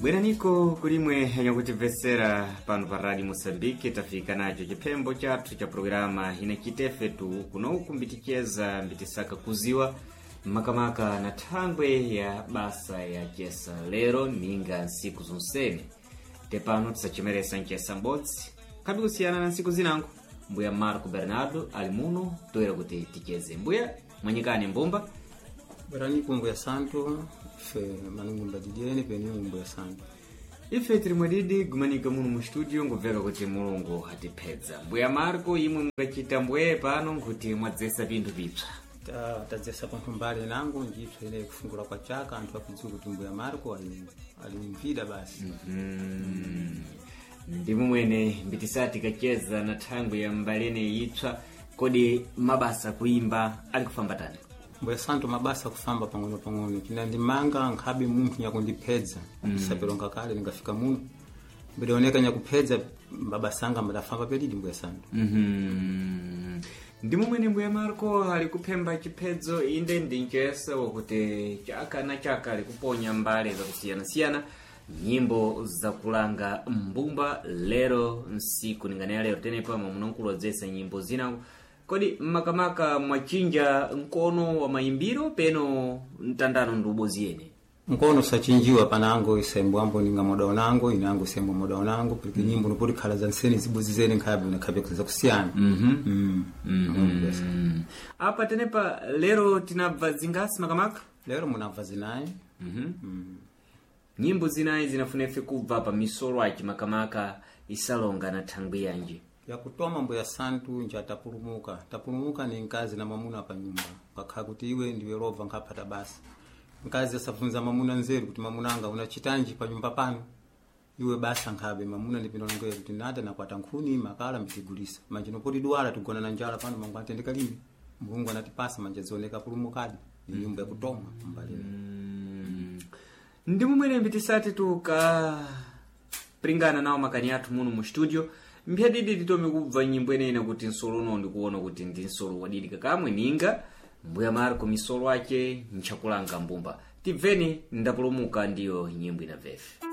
Bweraniko kulimwe yakutimvetsera pano pa Radio Moçambique. Tafika nacho chiphembo chathu cha programa inachitefe tu kunoku mbiticheza mbitisaka kuziwa makamaka na thangwe ya basa ya chesa lero ninga nsiku zonsene. Tepano tisachemeresa nchesa m'bodzi khabi kusiyana na nsiku zinango. Mbuya Marco Bernardo ali muno toera kuti ticheze. Mbuya mwanyikani mbumba. Bwerani kumbu ya santo ife manungumba didiene peni ngumbu ya santo. Ife tiri mwadidi gumanika muno mu studio ngubveka kuti Mulungu atiphedza. Mbuya Marco, imwe mungachita mbwee pano nkuti mwadzesa pinthu pipsa. Tadzesa panthu mbali nango njipsa ine kufungula kwa chaka anthu akudziwa kuti mbuya Marco ali mvida basi. Ndimo mwene mbitisati kacheza na thangwi ya mbalene ipsa. Kodi mabasa kuimba ali kufamba tani? Mbuya santo, mabasa kufamba pang'ono pang'ono, chinandimanga nkhabe munthu nyakundiphedza mm. Kale ndingafika muno mbidioneka nyakuphedza mabasa anga mbadafamba pedidi, mbuya santo. Ndimo mwene mbuya Marco ali kuphemba chiphedzo, inde ndi mchesa wakuti chaka na chaka ali kuponya mbale zakusiyanasiyana, nyimbo zakulanga mbumba. Lero nsiku ninganeya lero tenepa mwamunankulu adzesa nyimbo zinango. Kodi makamaka mwachinja mkono wa mayimbiro peno mtandano ndi ubozi yene? Mkono sachinjiwa panango isembo ambo ninga moda unango inango isembo moda unango porque nyimbo nopoti khala za nseni zibuzi zene nkhabe nakhabe zakusiyana. Mm. Apa tenepa lero tinabva zingasi makamaka? Lero munabva zinayi. Nyimbo zinayi zinafuna ife kubva pa misolo aci makamaka isalonga na thangwi yanji? Yakutoma mbuya santu nja tapulumuka. Tapulumuka ni mkazi na mwamuna pa nyumba, kakha kuti iwe ndiwe lova nkaphata basi. Mkazi asabvunza mwamuna nzeru kuti mwamuna anga unachitanji pa nyumba pano iwe basa nkhabe mwamuna ndipindolongera kuti nata nakwata nkhuni makala mbitigulisa manje nopoti dwala tigona na njala pano mangu atendeka limi Mulungu anatipasa manje zioneka pulumukadi. Ni nyumba yakutoma mbalini. Ndi mumwene mbitisati tukapringana nawo makani athu muno mu studio, mphyadidi titome kubva nyimbo inene kuti nsolo uno ndikuona kuti ndi nsolo wadidi kakamwe ninga mbuya Marco misolo ace nchakulanga mbumba. Tibveni Ndapulumuka, ndiyo nyimbo inabvefe.